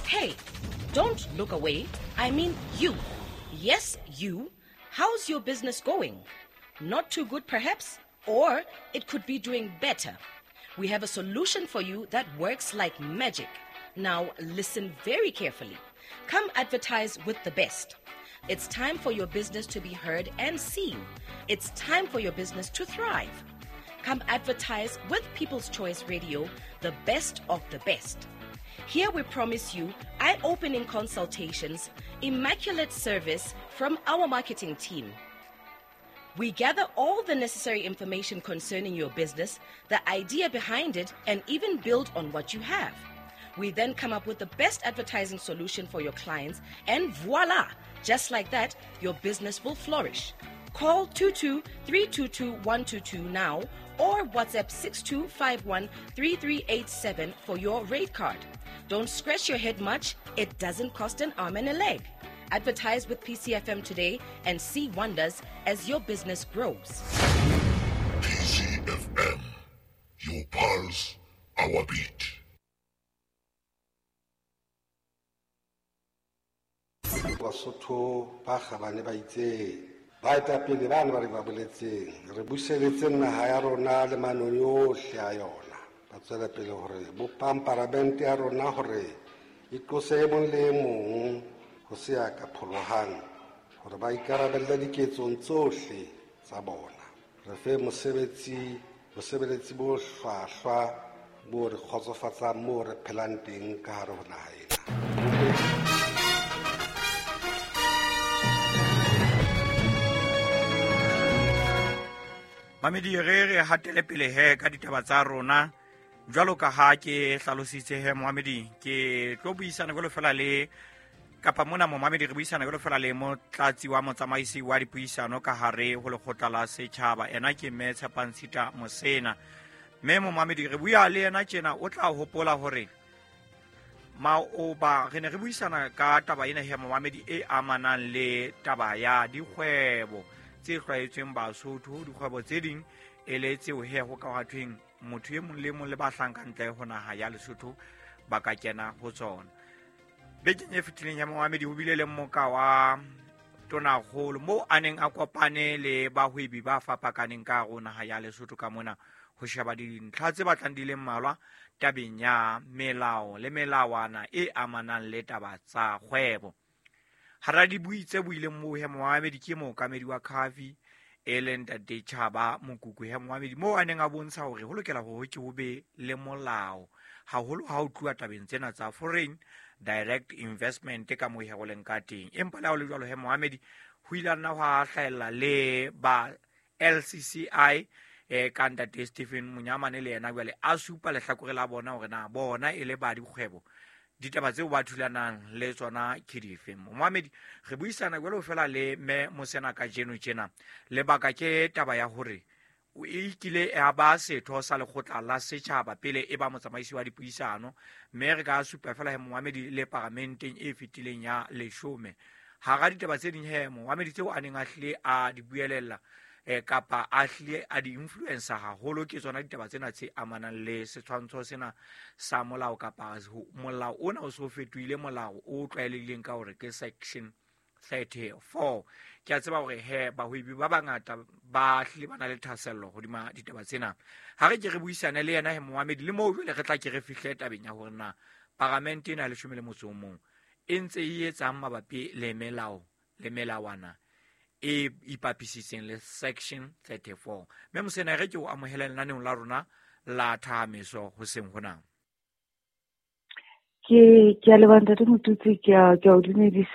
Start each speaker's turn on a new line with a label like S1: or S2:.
S1: Hey, don't look away. I mean you. Yes, you. How's your business going? Not too good, perhaps? Or it could be doing better. We have a solution for you that works like magic. Now, listen very carefully. Come advertise with the best. It's time for your business to be heard and seen. It's time for your business to thrive. Come advertise with People's Choice Radio, the best of the best. Here we promise you eye opening consultations, immaculate service from our marketing team. We gather all the necessary information concerning your business, the idea behind it, and even build on what you have. We then come up with the best advertising solution for your clients, and voila! Just like that, your business will flourish. Call 22 322 122 now or WhatsApp 6251 3387 for your rate card. Don't scratch your head much, it doesn't cost an arm and a leg. Advertise with PCFM today and see wonders as your business grows.
S2: PCFM, your pulse, our beat.
S3: Basotho ba kgabane ba itseng baetapele bane ba re ba boletseng re buseletseng naha ya rona le manong yohle a yona ba tswela pele hore bopang paramente ya rona hore e tlose e mong le e mong ho se ya ka pholohang hore ba ikarabelle diketsong tsohle tsa bona re fe mosebetsi bosebeletsi bo hlwahlwa bo re kgotsofatsang moo re phelang teng ka hare ho naha ena.
S4: Mamedi re re hatele pele he ka ditaba tsa rona jwalo ka ha ke hlalositse he moamedi ke tlo buisana jwalo fela le kapa mona momamedi re buisana jwalo fela le motlatsi wa motsamaisi wa dipuisano ka hare ho lekgotla la setjhaba ena ke mme Tshepantshita Mosena. Mme momamedi re bua le yena tjena o tla hopola hore maoba re ne re buisana ka taba ena he momamedi e amanang le taba ya dikgwebo tse hlwaetsweng Basotho, dikgwebo tse ding e le tseo he ho ka hwa thweng motho e mong le mong le ba hlahang ntle ho naha ya Lesotho ba ka kena ho tsona. Bekeng e fetileng ya momamedi ho bile le mmoka wa tonakgolo moo a neng a kopane le bahwebi ba fapakaneng ka hare ho naha ya Lesotho ka mona ho sheba dintlha tse batlang di le mmalwa tabeng ya melao le melawana e amanang le taba tsa kgwebo. Hara dibui tse buileng moo he momamedi ke mookamedi wa Khafi e leng Ntate Tjhaba Mokuku he momamedi moo a neng a bontsha hore ho lokela hore ke ho be le molao haholo ha ho tluwa tabeng tsena tsa foreign direct investment ka moo he go leng ka teng. Empa le ha ho le jwalo he momamedi ho ile ha nna hwa hlahella le ba LCCI ka Ntate Stephen Monyamane le yena jwale a supa lehlakore la bona hore na bona e le ba dikgwebo ditaba tseo ba thulanang le tsona ke dife. Momamedi re buisana jwalo fela le mme Mosena kajeno tjena. Lebaka ke taba ya hore o ikile ya ba setho sa lekgotla la setjhaba pele e ba motsamaisi wa dipuisano, mme re ka supa fela he momamedi le paramenteng e fetileng ya leshome. Hara ditaba tse ding he momamedi tseo a neng a hlile a di buelella kapa a hlile a di influencer haholo ke tsona ditaba tsena tse amanang le setshwantsho sena sa molao kapa molao ona o so fetohile molao o tlwaelehileng ka hore ke section 34. Ke a tseba hore he bahwebi ba bangata ba hlile ba na le thahasello hodima ditaba tsena. Ha re ke re buisane le yena he momamedi le moo jwale re tla ke re fihle tabeng ya hore na paramente ena ya 11 e ntse e etsang mabapi le melao le melawana e ipapisitseng le section 34. Mme Mosena re ke o amohele lenaneong la rona la Thahameso hoseng hona.
S5: Ke a leboha Ntate Motutsi, ke a o dumedisa.